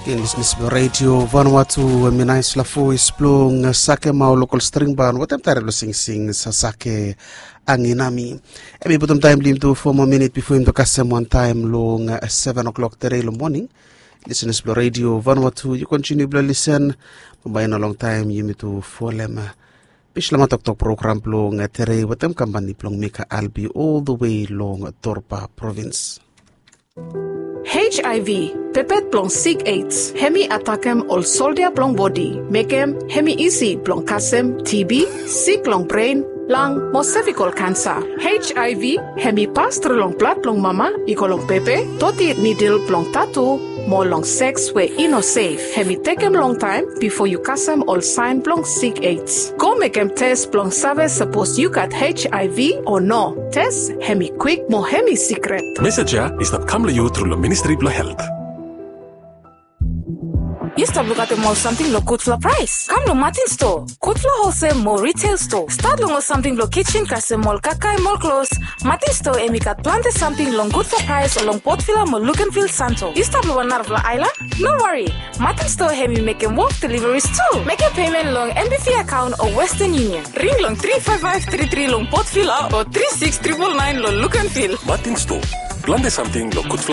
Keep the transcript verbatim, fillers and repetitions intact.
Ken lisnis blong redio vanua tu, em i nais la vois blong sake mau lokol string ban watem tare blong singsing sasake anginami. Em i putum taim blim tu fo moa minit bifo im tu kasem wan taim long seven o'clock tere long moning. Lisnis blong redio vanua tu, yu kontiniu blong lisen. Bambae i no long taim yumi tu folem bislama toktok program blong tere watem kampani blong mika albi ol the way long torpa provins. Hiv, pepet blong sik aids hem i atakem ol soldia blong bodi, mekem hem i isi blong kasem tb, sik long bren, lang mo sevikol kansa. Hiv hem i pas tru long blad blong mama i go long pepe, doti nidil blong tatu, mo long seks we i no sef. Hem i tekem longtaem bifo yu kasem ol saen blong sik aids. Go mekem tes blong save sapos yu gat hiv o no. Tes hem i kwik mo hem i sikret. Mesej ya i stap kam long yu tru long ministri blong helt. Yu stap lukatem ol samting long gudfala praes? Kam long Matin Stoa. Gudfala holsel mo retail stoa, stat long ol samting blong kisen kasem ol kakae mo ol klos. Matin Stoa hem i gat plante samting long gudfala praes long Port Vila mo Luganville, Santo. Yu stap long wan narafala aelan? No wari. Matin Stoa hem i mekem wok deliveries tu. Mekem pemen long M B V akaon o Western Union. Ring long tri faef faef tri tri long Port Vila o tri siks tripol naen long Luganville. Matin Stoa, plante samting long gudfala